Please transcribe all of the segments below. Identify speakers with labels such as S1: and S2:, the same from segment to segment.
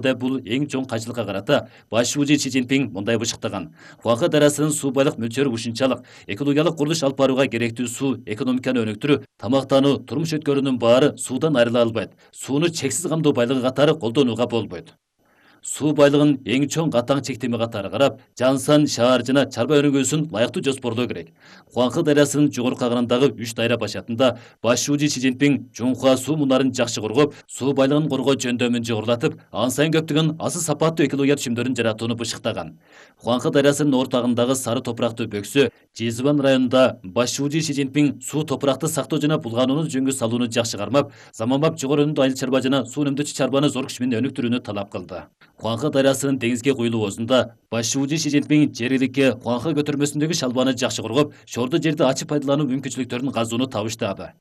S1: деп бул эң чоң кайчылыкка карата баш шүүжү Си Цзиньпин мындай бышыктаган. Хуанхэ дарыясынын суу байлык мөлчөрү ушунчалык. Экологиялык курулуш алып барууга керектүү суу, экономиканы өнүктүрүү, тамактануу, турмуш өткөрүүнүн баары суудан айрыла албайт. Сууну чексиз камдоо байлыгы катары колдонууга болбойт. Суу байлыгын эң чоң катаң чектеми катары карап, Жансан шаар жана чарба өнүгүүсүн ылайыктуу жоспордоо керек. Хуанхэ дарыясынын жогорку агырындагы 3 дайра башатында баш шүүжү Си Цзиньпин Жунхуа суу мунарын жакшы коргоп, суу байлыгын коргоо жөндөмүн жогорулатып, ан сайын көптөгөн асы сапаттуу экология түшүмдөрүн жаратууну бышыктаган. Хуанхэ дарыясынын орто агындагы сары топурактуу бөксө Жизван районунда баш шүүжү Си Цзиньпин суу топуракты сактоо жана булганууну жөнгө салууну жакшы кармап, заманбап жогору өнүмдүү айыл чарба жана суу үнөмдөөчү чарбаны зор күч менен өнүктүрүүнү талап кылды. Хуанхэ дарыясынын деңизге куюлуу озунда баш шүүжү Си Цзиньпин жергиликке Хуанхэ көтөрмөсүндөгү шалбаны жакшы коргоп, шордо жерди ачып пайдалануу мүмкүнчүлүктөрүн казууну табыштады.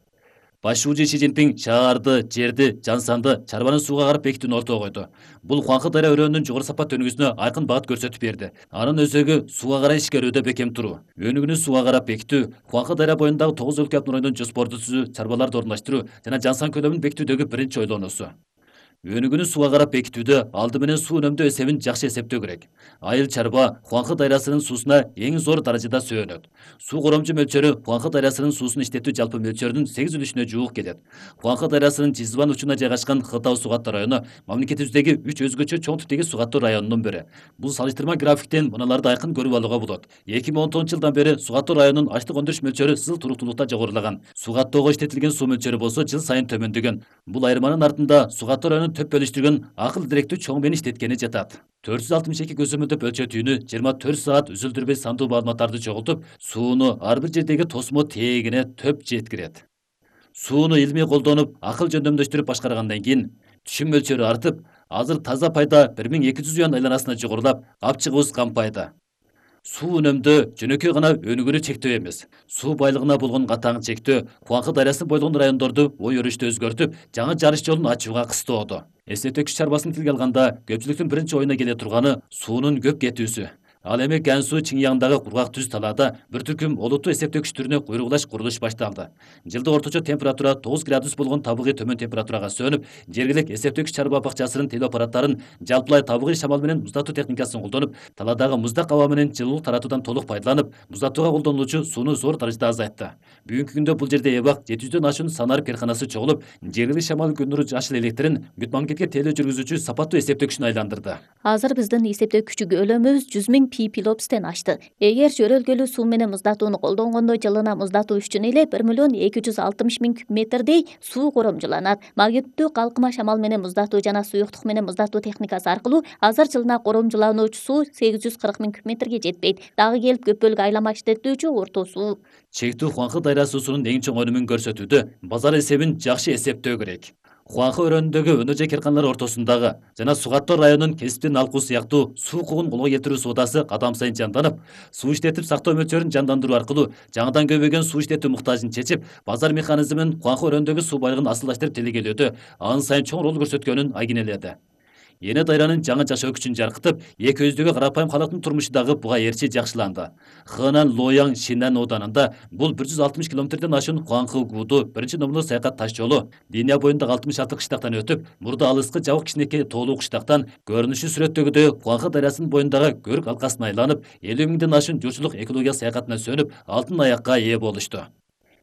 S1: Баш шүүжү Си Цзиньпин шаарды, жерди, Жансанды, чарбаны сууга карап бекитүүнү ортого койду. Бул Хуанхэ дарыя өрөөнүнүн жогору сапат өнүгүүсүнө айкын багыт көрсөтүп берди. Анын өзөгү сууга карай ишкерүүдө бекем туруу, өнүгүүнү сууга карап бекитүү, Хуанхэ дарыя боюндагы 9 өлкө автономдун жоспорду түзүү, чарбаларды орундаштыруу жана Жансан көлөмүн бекитүүдөгү биринчи ойлонуусу. Өнүгүүнү сууга карап бекитүүдө алды менен суу үнөмдөө эсебин жакшы эсептөө керек. Айыл чарба Хуанхэ дарыясынын суусуна эң зор даражада сөөнөт. Суу коромжу мөлчөрү Хуанхэ дарыясынын суусун иштетүү жалпы мөлчөрүнүн 8 жуук келет. Хуанхэ дарыясынын Жизван учуна жайгашкан Хэтау суу каттуу району мамлекетибиздеги 3 өзгөчө чоң типтеги суу каттуу районунун бири. Бул салыштырма графиктен муналарды айкын көрүп алууга болот. 2010-жылдан бери суу каттуу районунун ачлык өндүрүш мөлчөрү сызыл туруктуулукта жогорулаган. Суу каттоого иштетилген суу мөлчөрү болсо жыл сайын төмөндөгөн. Бул айырманын артында суу каттуу районун төп бөлүштүргөн акыл директүү чоң менен иштеткени жатат. 462 көзөмөлдөп өлчөтүүнү 24 саат үзүлдүрбөй сандуу маалыматтарды чогултуп, сууну ар бир жердеги тосмо тээгине төп жеткирет. Сууну илмий колдонуп, акыл жөндөмдөштүрүп башкаргандан кийин түшүм мөлчөрү артып, азыр таза пайда 1200 юан айланасына жогорулап, капчыгыбыз кампайда. Суу үнөмдөө жөнөкөй гана өнүгүүнү чектөө эмес. Суу байлыгына болгон катаң чектөө Хуанхэ дарыясы бойлогон райондорду ой өрүштү өзгөртүп, жаңы жарыш жолун ачууга кыстоодо. Эсептөкчү чарбасын тилге алганда, көпчүлүктүн биринчи оюна келе турганы суунун көп кетүүсү. Ал эми Гансу Чиньяңдагы кургак түз талаада бир түркүм олуттуу эсептөкчү түрүнө куйругулаш курулуш башталды. Жылда орточо температура 9 градус болгон табыгый төмөн температурага сөнүп, жергилик эсептөкчү чарба бакчасынын телеаппараттарын жалпылай табыгый шамал менен муздатуу техникасын колдонуп, талаадагы муздак аба менен жылуулук таратуудан толук пайдаланып, муздатууга колдонулуучу сууну зор даражада азайтты. Бүгүнкү күндө бул жерде эбак 700дөн ашуун санарып карканасы чогулуп, жергилик шамал күн нуру жашыл электрин бүт мамлекетке телөө жүргүзүүчү сапаттуу эсептөкчүнө айландырды.
S2: Азыр биздин эсептөөкүчү көлөмүбүз 100 000 пипилопстен ашты. Эгер жөрөлгөлүү суу менен муздатууну колдонгондо жылына муздатуу үчүн эле 1,260,000 куб метрдей суу коромжуланат. Магниттүү калкыма шамал менен муздатуу жана суюктук менен муздатуу техникасы аркылуу азыр жылына коромжулануучу суу 840,000 куб метрге жетпейт. Дагы келип көп бөлүгү айлама иштетүүчү орто суу.
S1: Чектүү Хуанхэ дарыясы суунун эң чоң өнүмүн көрсөтүүдө базар эсебин жакшы эсептөө керек. Хуанхэ өрөөнүндөгү өнөжай керкандар ортосундагы жана суу каттуу районунун кесиптин алкуу сыяктуу суу укугун колго келтирүү соодасы кадам сайын жанданып, суу иштетип сактоо мөлчөрүн жандандыруу аркылуу жаңыдан көбөйгөн суу иштетүү муктажын чечип, базар механизмин Хуанхэ өрөөнүндөгү суу байлыгын асылдаштырып тилегелөөдө ан сайын чоң роль көрсөткөнүн айгинеледи. Эне дайранын жаңы жашоо күчүн жаркытып, эки өздөгү карапайым калктын турмушу дагы буга эрчи жакшыланды. Хэнан Лояң Шинан оданында бул 160 километрден ашуун Хуанхэ Гуду биринчи номерлуу саякат таш жолу линия боюндагы 66 кыштактан өтүп, мурда алыскы жабык кичинекей тоолуу кыштактан көрүнүшү сүрөттөгүдөй Хуанхэ дарыясынын боюндагы Көрүк алкасына айланып, 50 000ден ашуун журтчулук экология саякатына сөнүп, алтын аякка ээ болушту.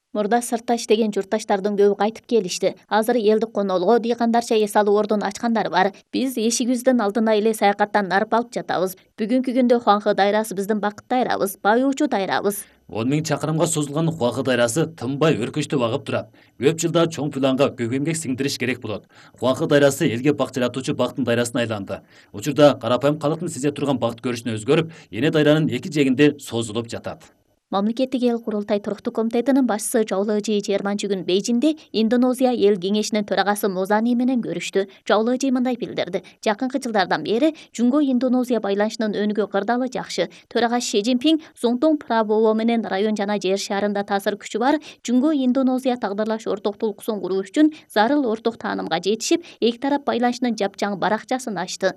S2: Мурда сыртта иштеген журтташтардын көбү кайтып келишти. Азыр элдик конолго дыйкандарча эс алуу ордун ачкандар бар. Биз эшигибиздин алдына эле саякаттан нарып алып жатабыз. Бүгүнкү күндө Хуанхэ дайрасы биздин бакыт дайрабыз, баюучу дайрабыз.
S1: 10 000 чакырымга созулган Хуанхэ дайрасы тынбай өркөчтөп агып турат. Көп жылда чоң планга көп эмгек сиңдириш керек болот. Хуанхэ дайрасы элге бак жаратуучу бактын дайрасына айланды. Учурда карапайым калктын сезе турган багыт көрүшүнө өзгөрүп, эне дайранын эки жээгинде созулуп жатат.
S2: Мамлекеттик эл курултай туруктуу комитетинин башчысы Чоулежи 20 Бейжиңде Индонезия эл кеңешинин төрагасы Мозани менен көрүштү. Чоулежи мындай билдирди: жакынкы жылдардан бери Жунго Индонезия байланышынын өнүгүү кырдаалы жакшы. Төрага Си Цзиньпин Зоңтоң Прабово менен район жана жер шаарында таасир күчү бар Жунго Индонезия тагдырлаш ортоктулуксун куруу үчүн зарыл орток таанымга жетишип, эки тарап байланышынын жапжаң баракчасын ачты.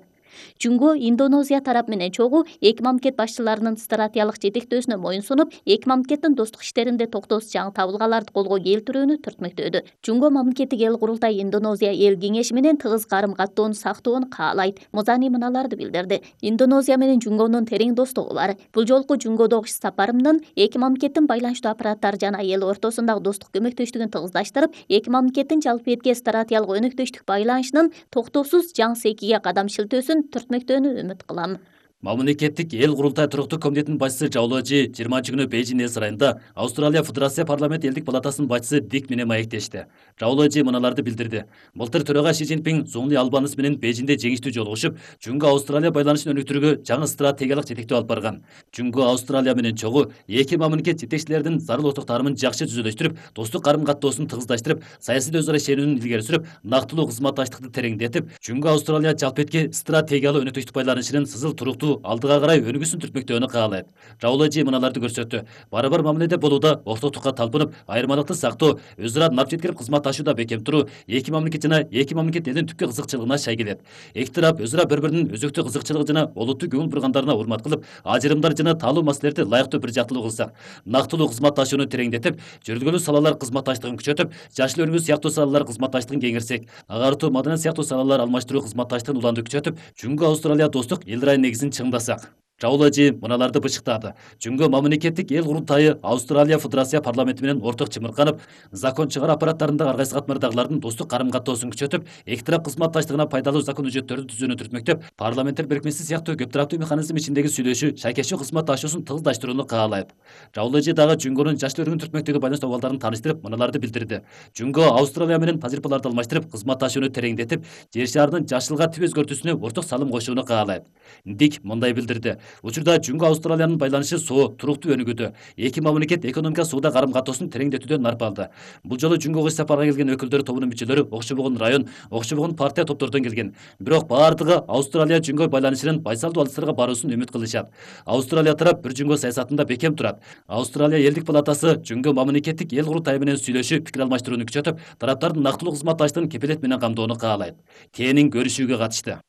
S2: Жумго Индонезия тарап менен чогуу эки мамлекет башчыларынын стратегиялык жетектөөсүнө моюн сунуп, эки мамлекеттин достук иштеринде токтоосуз жаңы табылгаларды колго келтирүүнү түртмөктөдү. Жумго мамлекеттик эл курултай Индонезия эл кеңеши менен тыгыз карым-каттоону сактоону каалайт. Мозани мыналарды билдирди. Индонезия менен Жумгонун терең достугу бар. Бул жолку Жумгодогу иш сапарымдын эки мамлекеттин байланыштуу аппараттары жана эл ортосундагы достук көмөктөштүгүн тыгыздаштырып, эки мамлекеттин жалпы этке стратегиялык өнөктөштүк байланышынын токтоосуз жаңы секиге кадам шилтөөсүн түртмөктөөнү үмүт кылам.
S1: Мамлекеттик эл курултай туруктуу комитетинин башчысы Жауложи 20 Бейжиң эл сарайында Австралия Федерация парламент элдик палатасынын башчысы Дик менен маектешти. Жауложи мыналарды билдирди. Былтыр төрага Ши Цзиньпин Зуңли Албанис менен Бейжиңде жеңиштүү жолугушуп, Жумго Австралия байланышын өнүктүрүүгө жаңы стратегиялык жетектөө алып барган. Жумго Австралия менен чогуу эки мамлекет жетекчилеринин зарыл ортоктарымын жакшы түзүлүштүрүп, достук карым-каттоосун тыгыздаштырып, саясий өз ара ишенүүнү илгери сүрүп, нактылуу кызматташтыкты тереңдетип, Жумго Австралия жалпы этки стратегиялык өнөктөштүк байланышынын сызыл туруктуу алдыга карай өнүгүүсүн түртмөктөөнү каалайт. Жауложи мыналарды көрсөттү. Барабар мамиледе болууда ортоктукка талпынып, айырмалыкты сактоо, өз ара нап жеткирип кызматташууда бекем туруу эки мамлекет жана эки мамлекет элдин түпкү кызыкчылыгына шай келет. Эки тарап өз ара бири-биринин өзөктүү кызыкчылыгы жана олуттуу көңүл бургандарына урмат кылып, ажырымдар жана таалуу маселелерди ылайыктуу бир жактылуу кылсак, нактылуу кызматташууну тереңдетип, жөргөлүү салалар кызматташтыгын күчөтүп, жашыл өнүгүү сыяктуу салалар кызматташтыгын кеңирсек, агартуу, маданият сыяктуу салалар алмаштыруу кызматташтыгын уланды күчөтүп, Жумго Австралия достук эл рай негизин чыңдасак. Жауложи мыналарды бышыктады. Жумго мамлекеттик эл курултайы Австралия Федерация парламенти менен орток чымырканып, закон чыгар аппараттарындагы ар кайсы катмардагылардын достук карым-каттоосун күчөтүп, эки тарап кызматташтыгына пайдалуу закон үжөттөрдү түзүүнү түртмөктөп, парламенттер бирикмеси сыяктуу көп тараптуу механизм ичиндеги сүйлөшүү, шайкешүү кызматташуусун тыгыздаштырууну каалайт. Жауложи дагы Жумгонун жашыл өрүгүн түртмөктөгү байланыштуу абалдарын тааныштырып, мыналарды билдирди. Жумго Австралия менен тажрыйбаларды алмаштырып, кызматташууну тереңдетип, жер шарынын жашылга тип өзгөртүүсүнө орток салым кошууну каалайт. Дик мындай билдирди. Учурда Жумго Австралиянын байланышы соо туруктуу өнүгүүдө. Эки мамлекет экономика сууда карым-каттоосун тереңдетүүдөн нарпалды. Бул жолу Жумгого иш сапарга келген өкүлдөр тобунун мүчөлөрү окшобогон район, окшобогон партия топтордон келген. Бирок бардыгы Австралия Жумго байланышынын байсалдуу алыстарга баруусун үмүт кылышат. Австралия тарап бир Жумго саясатында бекем турат. Австралия элдик палатасы Жумго мамлекеттик эл курултайы менен сүйлөшүп, пикир алмаштырууну күчөтүп, тараптардын нактылуу кызматташтыгын кепилет менен камдоону каалайт. Кенин көрүшүүгө катышты.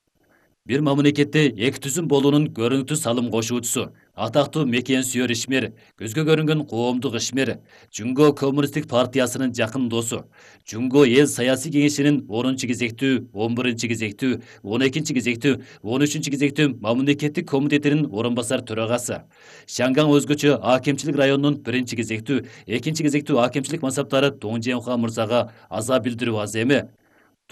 S1: Бир мамлекетте эки түзүм болуунун көрүнүктүү салым кошуучусу, атактуу мекен сүйөр ишмер, көзгө көрүнгөн коомдук ишмер, Жумго коммунисттик партиясынын жакын досу, Жумго эл саясий кеңешинин 10 кезектүү, 11 кезектүү, 12 кезектүү, 13 кезектүү мамлекеттик комитетинин орун басар төрагасы, Шанган өзгөчө акимчилик районунун 1 кезектүү, 2 кезектүү акимчилик мансаптары Доң Жиэнхуа мырзага аза билдирүү аземи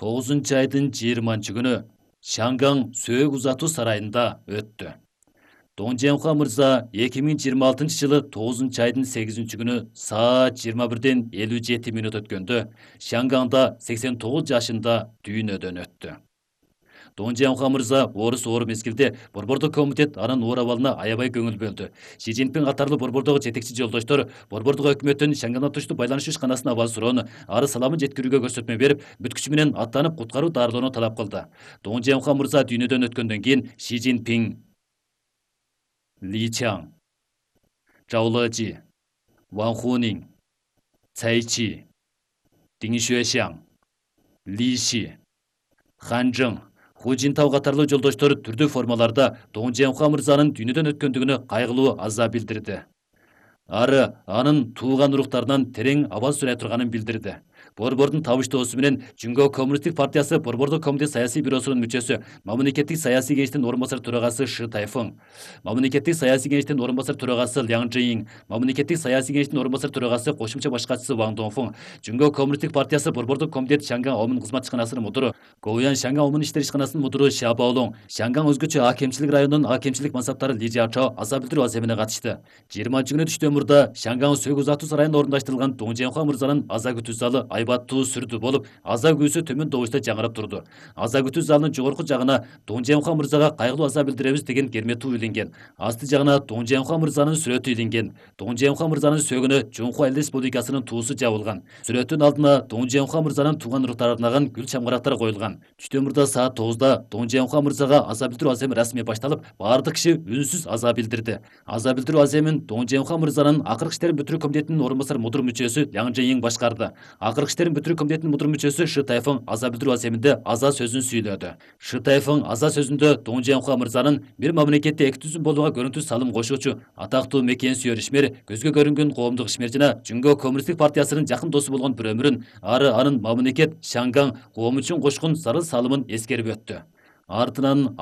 S1: 9 айдын 20 күнү Шанган сөөгү узатуу сарайында өттү. Доң Жиэнхуа мырза 2026 жылы 9 айдын 8 күнү саат 21ден 57 мүнөт өткөндө Шанганда 89 жашында дүйнөдөн өттү. Доң Жиэнхуа мырза орус оор мезгилде Борбордук комитет анын оор абалына аябай көңүл бөлдү. Ши Цзиньпин катарлуу Борбордогу жетекчи жолдоштор Борбордук өкмөттүн Шанган туруштуу байланыш ишканасына абал суроону, ары саламын жеткирүүгө көрсөтмө берип, бүт күчү менен аттанып куткаруу дарылоону талап кылды. Доң Жиэнхуа мырза дүйнөдөн өткөндөн кийин Ши Цзиньпин, Ли Чаң, Жауложи, Ван Хунин, Цай Чи, Дин Шуэшян, Ли Ши, Хан Чжэн, Ху Жинтау катарлуу жолдоштор түрдүү формаларда Доң Жиэнхуа мырзанын дүйнөдөн өткөндүгүнө кайгылуу аза билдирди. Ары анын тууган уруктарынан терең абал сурай турганын билдирди. Борбордун табыштоосу менен Жумго коммунисттик партиясы Борбордук комитет саясий бюросунун мүчөсү, мамлекеттик саясий кеңештин орун басар төрагасы Шы Тайфың, мамлекеттик саясий кеңештин орун басар төрагасы Ляң Чжэйин, мамлекеттик саясий кеңештин орун басар төрагасы кошумча башкачысы Ван Донфың, Жумго коммунисттик партиясы Борбордук комитет Шанган Омун кызмат ишканасынын мудуру, Гоуян Шанган Омун иштер ишканасынын мудуру Ша Баолоң, Шанган өзгөчө акимчилик районунун акимчилик мансаптары Ли Жиачао аза билдирүү аземине катышты. 20 күнү түштөн мурда Шанган сөөгү узатуу сарайында орундаштырылган Доң Жиэнхуа мырзанын аза күтүү залы айбаттуу сүрдүү болуп, аза күүсү төмөн добушта жаңырап турду. Аза күтүү залынын жогорку жагына Доң Жиэнхуа мырзага кайгылуу аза билдиребиз деген керме туу иленген. Асты жагына Доң Жиэнхуа мырзанын сүрөтү иленген. Доң Жиэнхуа мырзанын сөөгүнө Жунхуа Эл Республикасынын туусу жабылган. Сүрөттүн алдына Доң Жиэнхуа мырзанын тууган уруктары арнаган гүл чамгарактар коюлган. Түштөн мурда саат 9да Доң Жиэнхуа мырзага аза билдирүү аземи расмий башталып, баардык киши үнсүз аза билдирди. Аза билдирүү аземин Доң Жиэнхуа мырзанын акыркы иштер бүтүрүү комитетинин орун басар мудур мүчөсү Ляң Чжэйин башкарды. Акыркы Кыргыз иштерин бүтүрүү комитетинин мудур мүчөсү Шы Тайфың аза билдирүү асеминде аза сөзүн сүйлөдү. Шы Тайфың аза сөзүндө Дong Jianhua мырзанын бир мамлекетте эки түзүм болууга көрүнүктүү салым кошуучу, атактуу мекен сүйөр ишмер, көзгө көрүнгөн коомдук ишмер жана Жүнгө Коммунисттик партиясынын жакын досу болгон бір өмүрүн, ары анын мамлекет Шангаң коому үчүн кошкон зарыл салымын эскерип өттү. Артынан